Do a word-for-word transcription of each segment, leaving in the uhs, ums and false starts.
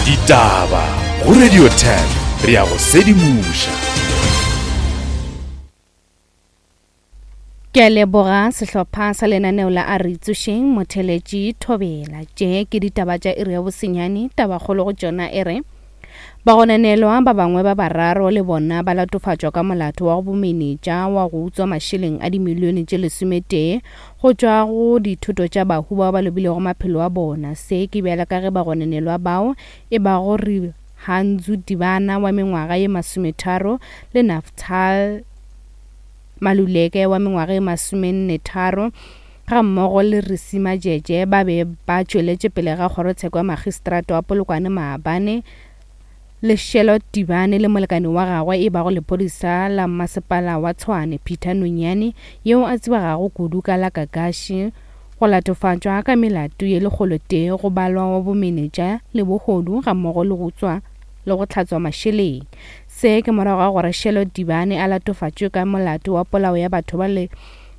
Ditaba go Radio ten re ya go sedimoša. Ke a leboga sehlopha sa lenaneo la a re tsošeng motheletši Thobela. Tše ke ditaba tša iri ya bosenyane, tabakgolo go tšona e re bagononelwa ba bangwe ba bararo le bona ba latofatšwa ka molato wa go bomenetša wa go utswa mašeleng a dimilione tše lesometee go tšwa go dithoto tša bahu bao ba lobilego maphelo a bona. Se ke bjala ka ge bagononelwa bao e bago Rihanzu Tibana wa mengwaga ye masometharo le Naftal Maluleke wa mengwaga ye masomenne tharo ga mmogo le Risima Jeje ba be ba tšweletše pele ga kgorotsheko ya magistrata wa Polokwane maabane. Leshelo Tibane le molekane wa gagwe e bago lephodisa la masepala wa Tshwane Peter Nonyane yeo a tsebegago kudu ka la Kakashi go latofatšwa ka melato ye lekgolo tee go balwa wa bomenetša le bohodu ga mmogo le go utswa le go hlatswa mašeleng. Se ke morago ga gore Shelo Tibane a latofatšwe ka molato wa polao ya batho ba le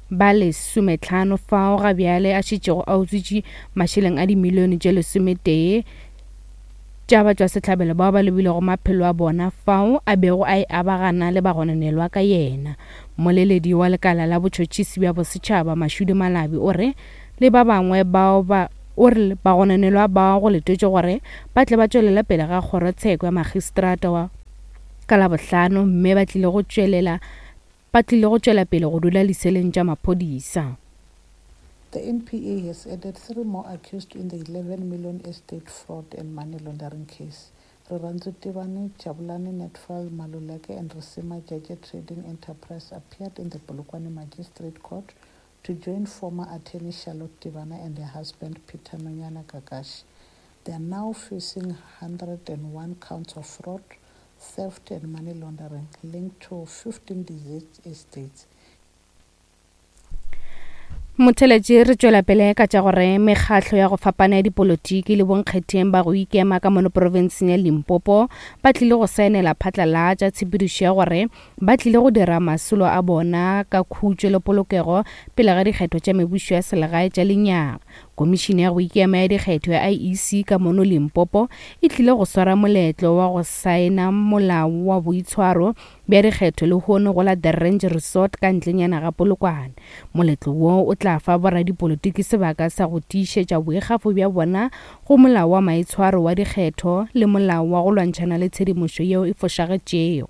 ba lesometlhano fao ga bjale a šetšego a utswitše mašeleng a dimilione tše lesometee tša batšwasehlabelo bao ba lobilego maphelo a bona fao a bego a e abagana le bagononelwa ka yena. Mmoleledi wa lekala la botšhotšhisi bja bosetšhaba Mashudu Malabi o re le ba bangwe bao ba o re bagononelwa bao go letetšwe gore ba tle ba tšwelele pele ga kgorotsheko ya magistrata wa ka Labohlano mme ba tlile go tšwelela ba tlile go tšwela pele go dula diseleng tša maphodisa. The N P A has added three more accused in the eleven million estate fraud and money laundering case. Riranzu Tibane, Jabulani Netfal Maluleke and Risima Jeje Trading Enterprise appeared in the Polokwane Magistrate Court to join former attorney Charlotte Tibane and her husband Peter Nonyana Kakashi. They are now facing hundred and one counts of fraud, theft and money laundering linked to fifteen deceased estates. Motheletši re tšwela pele ka tša gore mekgatlo ya go fapana ya dipolotiki le bonkgetheng ba go ikema ka mono profenseng ya Limpopo ba tlile go saenela phatlalatša tshepedišo ya gore ba tlile go dira masolo a bona ka khutšo le polokego pele ga dikgetho tša mebušo ya selegae tša lenyaga. Komišene ya go ikema ya dikgetho ya I E C ka mono Limpopo e tlile go swara moletlo wa go saena molao wa boitshwaro bja dikgetho lehono go la The Ranch Resort ka ntlenyana ga Polokwane. Moletlo wo o tla fa boradipolotiki sebaka sa go tiišetša boikgafo bja bona go molao wa maitshwaro wa dikgetho le molao wa go lwantšhana le tshedimošo yeo e fošagetšego.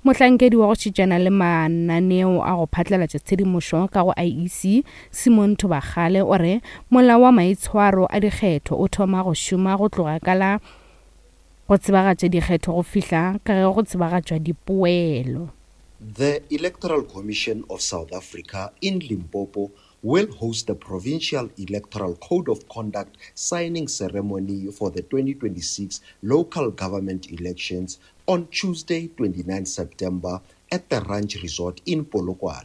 Mohlankedi wa go šetšana le mananeo a go phatlalatša tshedimošo ka go I E C Simon Thobakgale o re molao wa maitshwaro a dikgetho o thoma go šoma go tloga ka la go tsebagatša dikgetho go fihla ka ge go tsebagatšwa dipoelo. The Electoral Commission of South Africa in Limpopo will host the Provincial Electoral Code of Conduct signing ceremony for the twenty twenty-six local government elections on Tuesday, twenty-ninth September at the Ranch Resort in Polokwane.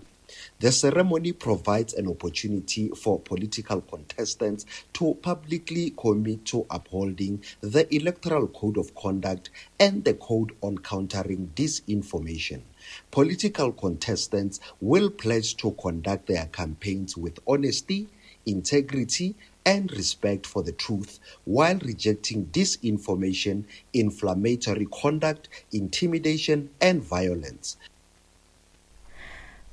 The ceremony provides an opportunity for political contestants to publicly commit to upholding the Electoral Code of Conduct and the Code on Countering Disinformation. Political contestants will pledge to conduct their campaigns with honesty, integrity, and respect for the truth while rejecting disinformation, inflammatory conduct, intimidation, and violence.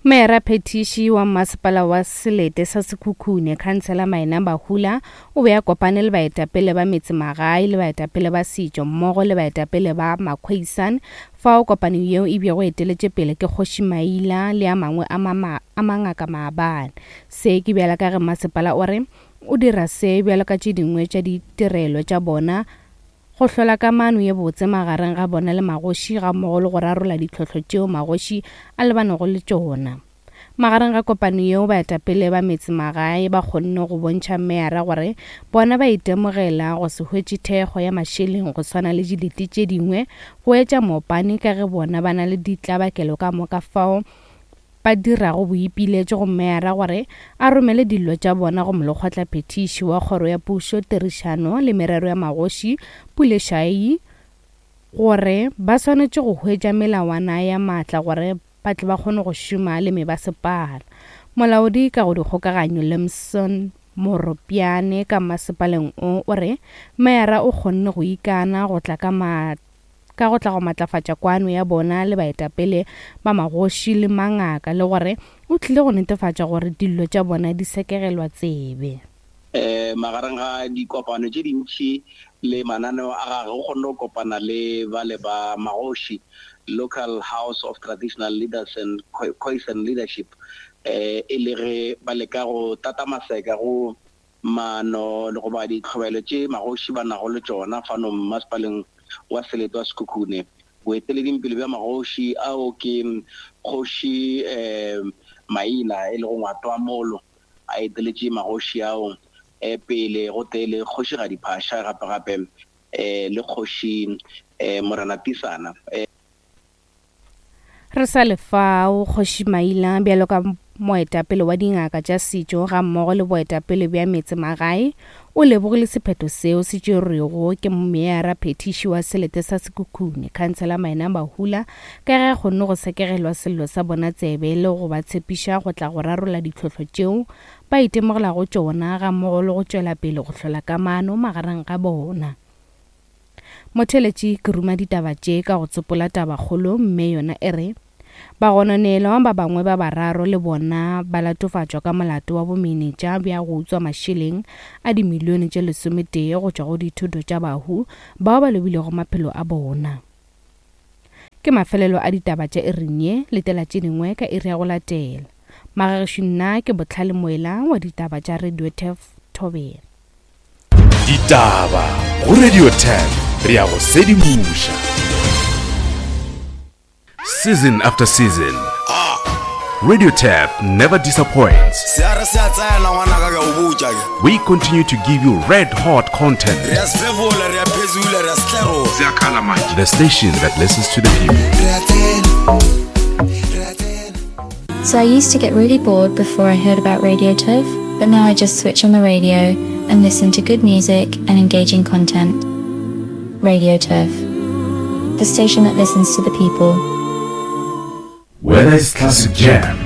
Mera Phetiši wa masepala wa Selete sa Sekhukhune, Khansela Maina Bahula, o be a kopane le baetapele ba metsemagae le baetapele ba setšo mmogo le baetapele ba Makhweisan fao kopano yeo e bego eteletše pele ke Kgoši Maila le a mangwe a mama, a mangaka maabane. Se ke bjala ka ge masepala o re o dira se bjalo ka tše dingwe tša ditirelo tša bona go hlola kamano ye botse magareng ga bona le magoši ga mmogo le go rarolla ditlhohlo tšeo magoši a lebanego le tšona. Magareng ga kopano yeo baetapele ba metsemagae ba kgonne go bontšha meyara gore bona ba itemogela go se hwetše thekgo ya mašeleng go swana le dilete tše dingwe go etša mopane ka ge bona ba na le ditlabakelo ka moka fao ba dirago boipiletšo go meyara gore a romele dillo tša bona go molekgotlaphethiši wa kgoro ya pušo, tirišano le merero ya magoši Pule Shayi gore ba swanetše go hwetša melawana ya maatla gore ba tle ba kgone go šoma le mebasepala. Molaodi ka go dikgokaganyo Lemson Moropiane ka masepaleng o o re meyara o kgonne go ikana go tla ka ma ka go tla go matlafatša kwano ya bona le baetapele ba magoši le mangaka le gore o tlile go netefatša gore dillo tša bona di sekegelwa tsebe. Eh magareng ga dikopano tše dintši le mananeo a gagwe o kgonne go kopana le ba le ba magoši, Local House of Traditional Leaders and Khoisan Leadership, eh e le ge ba leka go tata maseka go maano le goba ditlhobaelo tše magoši ba nago le tšona fano mmasepaleng wa selete wa Sekhukhune. Boeteledingpele bja magoši ao ke kgoši eh Maila e lego Ngwato wa Molo a eteletše magoši ao eh pele go tee le kgoši Gadiphasha gape gape eh le kgoši eh Morena Tisana. Eh Re sa le fao, kgoši Maila bjalo ka moetapele wa dingaka tša setšo ga mmogo le boetapele bja metsemagae o lebogile sephetho seo se tšerwego ke meyara phethiši wa selete sa Sekhukhune, Khansela Maina Mahula, ka ge a kgonne go sekegelwa sello sa bona tsebe le go ba tshepiša go tla go rarolla ditlhohlo tšeo ba itemogelago tšona ga mmogo le go tšwela pele go hlola kamano magareng ga bona. Motheletši ke ruma ditaba tše ka go tsopola tabakgolo mme yona e re bagononelwa ba bangwe ba bararo le bona ba latofatšwa ka molato wa bomenetša bja go utswa mašeleng a dimilione tše lesometee go tšwa go dithoto tša bahu bao ba lobilego maphelo a bona. Ke mafelelo a ditaba tša iring ye, letela tše dingwe ka iri ya go latela. Magagešo nna ke Botlhale Moela wa ditaba tša Radio Turf Thobela. Ditaba go Radio Turf, re ya go sedimoša. Season after season, Radio Turf never disappoints. Se a re se a tsena ngwanaka ke a o botša ke. We continue to give you red hot content. Re a sefefola, re a phezula, re a setlerola. The station that listens to the people. Re a tsena, re a tsena. So I used to get really bored before I heard about Radio Turf, but now I just switch on the radio and listen to good music and engaging content. Radio Turf, the station that listens to the people. Whether it's classic jams,